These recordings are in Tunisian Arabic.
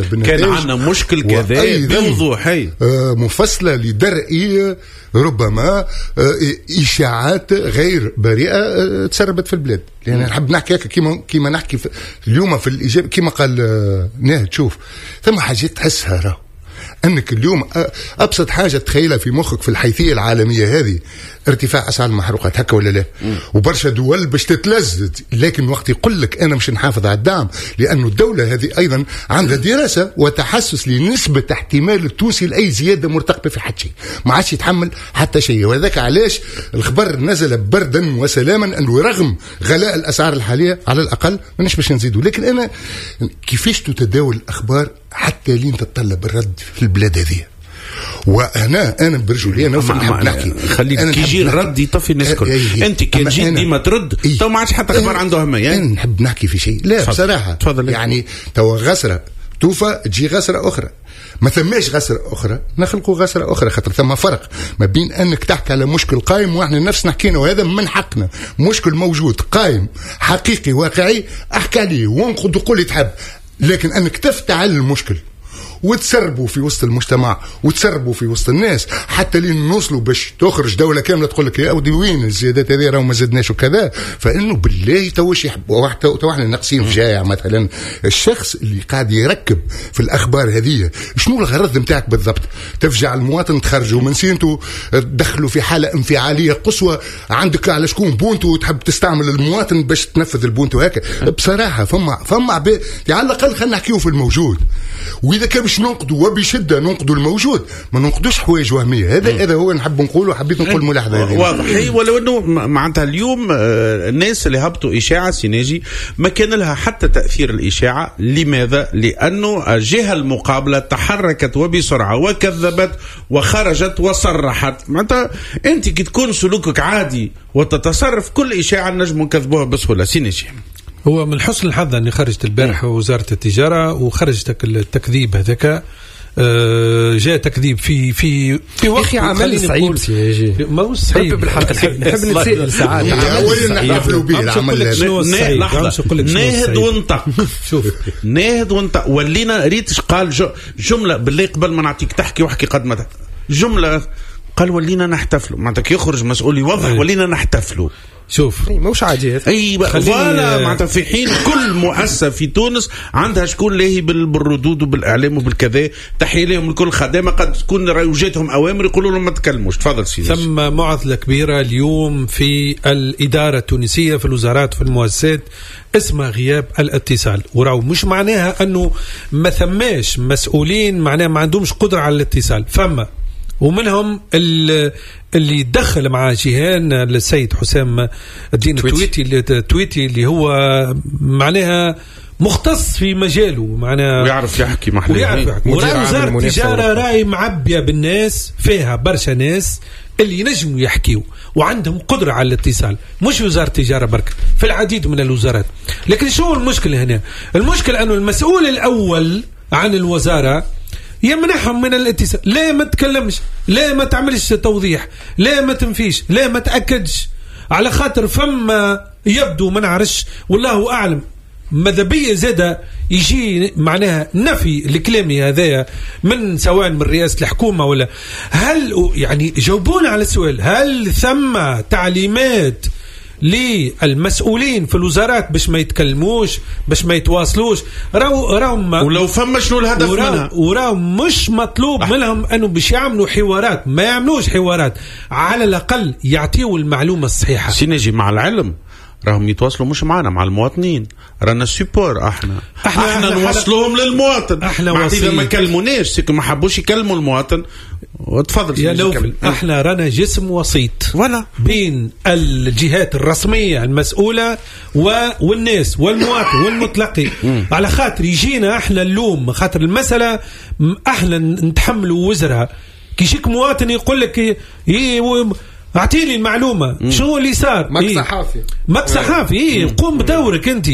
كان عندنا مشكل كذا بوضوح، مفصلة لدرء ربما اشاعات غير بريئة تسربت في البلاد. لان يعني نحب نحكي هكا كيما نحكي اليوم في الاجابة، كيما قال ناهد، شوف ثم حاجات تحسها، راهو انك اليوم ابسط حاجة تخيلها في مخك في الحيثية العالمية هذه ارتفاع اسعار المحروقات، هكا ولا لا؟ وبرشا دول باش تتلزز، لكن وقت يقول لك انا مش نحافظ على الدعم، لانه الدولة هذه ايضا عندها دراسة وتحسس لنسبه احتمال التونسي لاي زيادة مرتقبه في حتى شيء، ما عادش يتحمل حتى شيء. وهذاك علاش الخبر نزل بردا وسلاما، انه رغم غلاء الاسعار الحالية على الاقل ماناش باش نزيدوا. لكن انا كيفاش تتداول الاخبار حتى لين تتطلب الرد في البلاد هذه؟ وانا انا برجولية انا نحب نحكي، خليك كي يجي الرد يطفي الناس الكل. انت كي تجي ديما ترد تو ما عادش حتى خبر عنده اهمية. انا نحب نحكي في شيء، لا بصراحة تفضل. يعني تو غسره توفى تجي غسره اخرى، ما ثماش غسرة أخرى نخلقوا غسرة أخرى، خاطر ثم فرق ما بين أنك تحكي على مشكل قائم، وإحنا نفسنا حكينا وهذا من حقنا، مشكل موجود قائم حقيقي واقعي أحكي عليه وانقد وقول اللي تحب، لكن أنك تفتعل المشكل وتسربوا في وسط المجتمع وتسربوا في وسط الناس حتى لين نوصلوا باش تخرج دولة كاملة تقول لك يا ودي وين الزيادات هذه، راهو ما زدناش وكذا. فانه بالله توش يحبوا تو احنا ناقصين فجايع. مثلا الشخص اللي قاعد يركب في الاخبار هذه شنو الغرض نتاعك بالضبط؟ تفجع المواطن، تخرجوا من سينته، تدخلوا في حاله انفعاليه قصوى، عندك على شكون بونتو وتحب تستعمل المواطن باش تنفذ البونتو هكا. بصراحة فما عباد على الاقل خلينا نحكيو في الموجود، واذا كان باش ننقدوا وبشدة ننقدوا الموجود، ما ننقدوش حوايج وهمية. هذا هو نحب نقوله، وحبيت نقول ملاحظة هذه واضح. ولو انه معناتها اليوم الناس اللي هبطوا اشاعة سيناجي ما كان لها حتى تاثير الاشاعة. لماذا؟ لانه الجهة المقابلة تحركت وبسرعة وكذبت وخرجت وصرحت. معناتها انت كي تكون سلوكك عادي وتتصرف كل اشاعة نجم نكذبوها بسهولة. سيناجي، هو من حسن الحظ أني خرجت البارح وزارة التجارة وخرجت التكذيب هذاك. جاء تكذيب في في في وقت عمل صعيب، ما هو صعيب بالحق. نحب نتسائل ساعات، نحتفلوا به العمل. ناهد وانطق، شوف ناهد وانطق، ولينا ريتش قال جملة بالله قبل ما نعطيك تحكي وحكي قد ما جملة قال ولينا نحتفلوا. معناتها يخرج مسؤول يوضح ولينا نحتفلوا. شوف مش عادي هذا. اي voilà، معناتها في حين كل مؤسسة في تونس عندها شكون لاهي بالردود وبالاعلام وبالكذا، تحية لهم الكل، خدامه قد تكون وجاتهم اوامر يقولوا لهم ما تكلموش. تفضل سيدي. ثم معضلة كبيرة اليوم في الادارة التونسية، في الوزارات، في المؤسسات، اسمها غياب الاتصال. وراو مش معناها انه ما ثماش مسؤولين، معناها ما عندهمش قدره على الاتصال، فما ومنهم اللي دخل مع جيهان السيد حسام الدين التويتي اللي هو معناها مختص في مجاله، معناها ويعرف يحكي محلي، ويعرف يحكي. وزارة التجارة راي معبية بالناس، فيها برشا ناس اللي ينجموا يحكيوا وعندهم قدرة على الاتصال، مش وزارة التجارة برك، في العديد من الوزارات. لكن شو المشكلة هنا؟ المشكلة أنه المسؤول الأول عن الوزارة يمنحهم من الاتصال، لا ما تكلمش، لا ما تعملش توضيح، لا ما تنفيش، لا ما تأكدش، على خاطر فما يبدو ما نعرفش والله أعلم ماذا بيا زادة يجي معناها نفي لكلامي هذايا من سواء من رئاسة الحكومة ولا هل يعني جاوبونا على السؤال، هل ثم تعليمات للمسؤولين في الوزارات باش ما يتكلموش، باش ما يتواصلوش؟ راو ولو فما شنو الهدف منها؟ وراو مش مطلوب منهم انه باش يعملوا حوارات، ما يعملوش حوارات، على الاقل يعطيوا المعلومة الصحيحة. سينجي مع العلم راهم يتواصلوا مش معنا، مع المواطنين، رانا support، احنا نوصلوهم للمواطن. احنا اذا ما كلموناش c'est que ما حبوش يكلموا المواطن. وتفضل يا نوفل، احنا رانا جسم وسيط ولا بين الجهات الرسمية المسؤولة والناس والمواطن والمتلقي. على خاطر يجينا احنا اللوم، خاطر المسالة احنا نتحملوا وزرها. كي يجيك مواطن يقول لك اعطيني المعلومة شنو اللي صار، ماك صحافي، ماك صحافي، إيه قوم بدورك انت.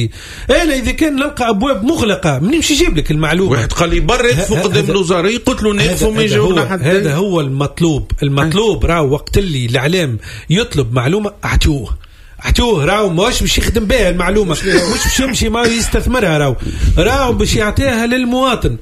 انا اذا كان نلقى ابواب مغلقة منين باش يجيب لك المعلومة؟ واحد قال لي برا يقفوا قدام الوزارة، قلت له نقفوا ما يجاوبنا حتى. هذا هو المطلوب. المطلوب راه وقت اللي الاعلام يطلب معلومة اعطوه، اعطوه، راهو ماهوش باش يخدم بها المعلومه، مش باش يمشي ما يستثمرها، راهو باش يعطيها للمواطن.